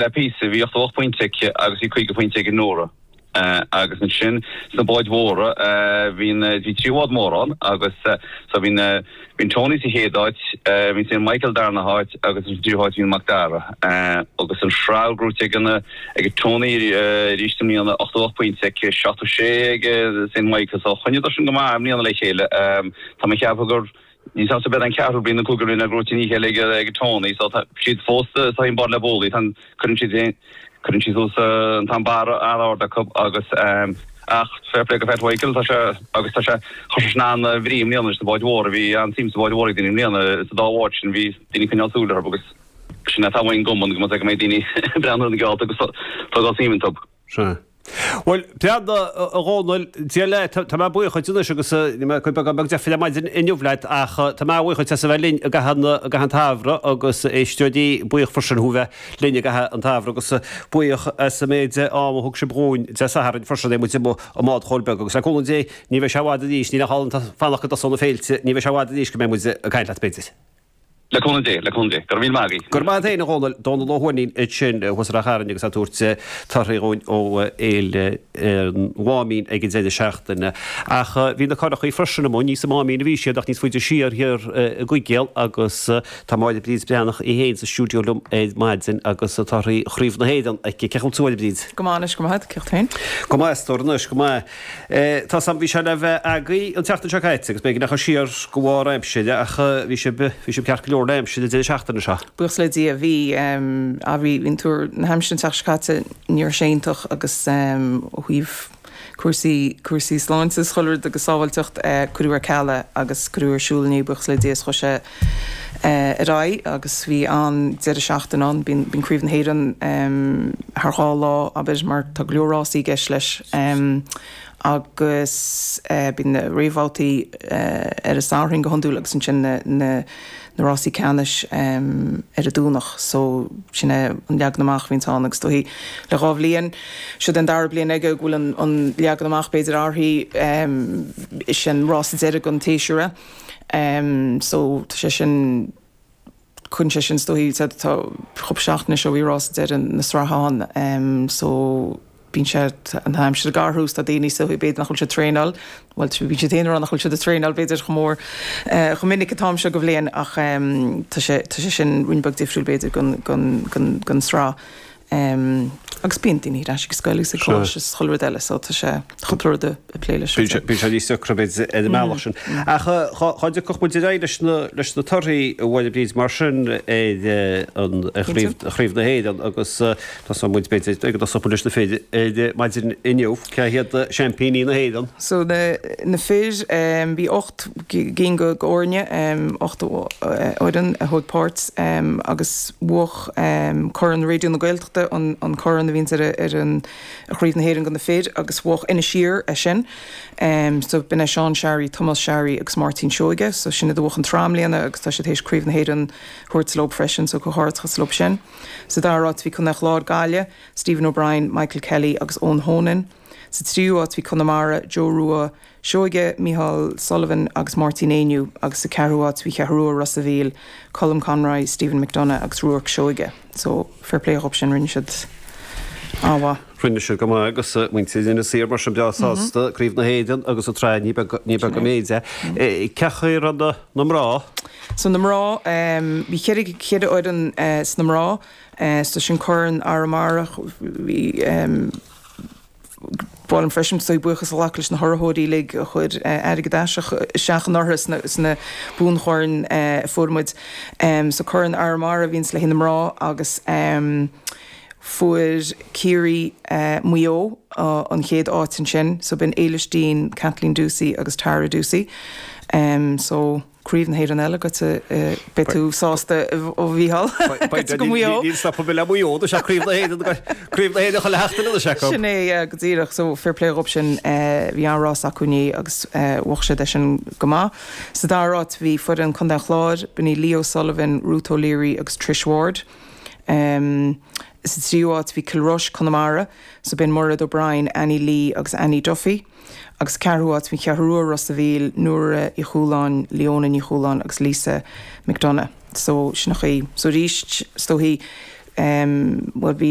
Le píosa, bhí 88 pointe aici agus bhí 50 pointe ag Nóra. Agus ansin sna báid mhóra, bhí na, bhí 3 bhád mór ann agus so bhí na, bhí an Tony sa chéad áit, bhí Saint Michael darna háit agus an tríú háit bhí an Mac Dara. Agus an tsraith gnóite ag an, ag an Tony arís i mbliana, 88 pointe aici, 76 ag Saint Michael so choinníodar sin go maith i mbliana le chéile. Tá mé ag ceapadh gur. Níl 's a'msa ab é an ceathrú bliain nó cúigiú bliain é gnóite i ndiaidh a chéile ag Tony so tá siad fós sa an bád le bualadh tá an cuireann siad féin cuireann siad suas an t-am barra an-ard acu agus ach fair play go Pat Mhichael tá sé agus tá sé chuir sé sin an-bhrí i mbliana leis na báid mhóra bhí an-suim sa bháid mhóra ag daoine i mbliana sa dá bhád sin bhí daoine ag coinneáil súil orthu agus sin é atá uainn ón gcumann go mbeidh daoine ag breathnú ar na geallta agus tógáil suim iontu. Sea. Bhuel, Breandán, a Dhónaill, Dia leat, tá mé buíoch dhuit anois agus níl mé cuid beagán beag deifre ar maidin inniu leat ach tá mé buíoch dhuit as a bheith linn i gcaitheamh an, i gcaitheamh an tsamhraidh agus éisteoirí buíoch freisin thú bheith linn i gcaitheamh an tsamhraidh agus buíoch as an méid ama a thug sibh dhúinn Dé Sathairn freisin é muid amuigh i mbád Chóil Beag agus le cúnamh Dé ní bheidh sé i bhfad arís, níl ach fanacht go dtosóidh na féilte, ní bheidh sé i bhfad arís go mbeidh muid ag caint leat b'fhéidir. Le cúnamh Dé, le cúnamh Dé. Go raibh míle maith agaibh. Go raibh maith agat féin, a Dhónaill. Dónal Ó hUaithnín ansin thuas i Ráth Chairn agus é ag tabhairt torthaí dhúinn ó Fhéile an Mháimín ag an deireadh seachtaine. Ach bhí na curachaí freisin amuigh, ní sa Máimín a bhí siad ach níos faide siar thiar i gCuigéal agus tá Máire Bríd Breathnach í féin sa stiúideo liom ar maidin agus torthaí Chraobh na hÉireann aici. Cén chaoi a bhfuil tú, a Mháire Bríd? Go maith anois, go maith. Cén chaoi tú féin? Go maith, a stór anois, go maith. Tá 's a'm, bhí sé le bheith agaibh an tseachtain seo caite agus b'fhéidir go ndeachaigh siar de bharr aimsire ach bhí sibh, bhí sibh ceart go leor le aimsir an deireadh seachtaine seo. Buíochas le Dia, bhí, ah bhí, bhí an tuar na haimsire an tseachtain seo caite, ní raibh sé iontach agus ó thaobh cúrsaí, cúrsaí sláinte is chuile rud agus sábháilteacht, cuireadh ar ceal é agus cuireadh ar siúl inné buíochas le Dia is chuaigh sé ar aghaidh agus bhí an-deireadh seachtaine ann. Bíonn Craobh na hÉireann thar dhá lá, abair, mar tá go leor rásaí i gceist leis agus bíonn na réamhbhabhtaí ar an Satharn go hiondúil agus ansin na rásaí ceannais ar an Domhnach. So sin é an leagan amach a bhíonns ann agus is dóichí le dhá bhliain, siod é an dara bliain aige go bhfuil an leagan amach b'fhéidir athraithe, is é an rása deiridh den tséasúr é. So tá sé sin, cuireann sé sin is dóichí, tá cúpla seachtain anois ó bhí rása deiridh na sraithe ann so bíonn sé, an aimsir ag athrú is tá daoine is dóichí b'fhéidir nach bhfuil siad ag traenáil, bhuel bíonn siad féin ag rá nach bhfuil siad ag traenáil b'fhéidir chomh mór, chomh minic an t-am seo de bhliain ach tá sé, tá sé sin ruainne beag difriúil b'fhéidir don, don, don, don sraith. Agus bíonn daoine ar ais ag scoil agus ag coláiste is chuile rud eile so tá sé cúpla rud ag plé leis. Bíonn sé níos deacra b'fhéidir ar an mbealach sin. Ach dhá dtiocfadh muid ar aghaidh leis na leis na torthaí a Mháire Bríd mar sin ar an ar chraobh chraobh na hÉireann agus tosóidh muid b'fhéidir go dtosóidh muid leis na fir ar maidin inniu. Cé hiad seaimpíní na hÉireann? So na na fir bhí 8 gcinn de fhoirne, 8 fhoireann a thóg páirt agus bhuach Corn Raidió na Gaeltachta, an corn a bhíonns ar an Chraobh na hÉireann do na fir agus bhuach Inis Oírr é sin. So b'in é Seán Sharry, Tomás Sharry agus Máirtín Seoige. So sin iad a bhuach an tsraith i mbliana agus tá siad théis Craobh na hÉireann thabhairt leo freisin so comhghairdeachas leo sin. Sa dara háit bhí Contae an Chláir, Gaillimh, Stephen O'Brien, Michael Kelly agus Eoin Honan. Sa tríú háit bhí Conamara, Joe Rua Seoige, Micheál Sullivan agus Máirtín Éinniú agus sa ceathrú háit bhí Cheathrú Rua, Ros a' Mhíl, Colm Conroy, Stephen McDonagh agus Ruarc Seoige. So, fair play dhób sin, rinne siad an-mhaith. Rinne siad go maith agus muintir Inis Oírr mar sin breá sásta, Craobh na hÉireann agus an tsraith, ní beag, ní beag an méid é. Cén chaoi a raibh na, na mná? So na mná, bhí cheithre, cheithre fhoireann sna mná, so sin Corn Arramara, bhí, Ba mhaith liom freisin is dóigh buíochas a ghlacadh leis na hurraitheoirí uilig a chuir airgead isteach anuraidh sna buanchoirn a fuair muid. So Corn Arramara a bhíonns le haghaidh na mná agus fuair Ciarraí Maigh Eo an chéad áit ansin. So b'in Éilis Deane, Kathleen Doocey agus Tara Doocey. So. Craobh na hÉireann eile goite, beidh tú sásta a Mhícheál, goite go Maigh Eo. Níl stopadh le Maigh Eo, tá sé Craobh na hÉireann, Craobh na hÉireann chuile sheachtain anois acu. Sin é, yeah, go díreach. So fair play dhób sin, bhí an-rás acu inné agus bhuach siad é sin go maith. Sa dara háit bhí foireann Contae an Chláir, b'in í Leo Sullivan, Ruth O'Leary agus Trish Ward. Sa tríú háit bhí Cill Rois, Conamara, so b'in Mairéad O'Brien, Annie Lee agus Annie Duffy. Agus ceathrú áit bhí Cheathrú Rua, Ros a' Mhíl, Nóra Uí Chualáin, Leona Ní Chualáin agus Lisa McDonagh. So sin an chaoi. So arís, is dóichí, Bhuel bhí.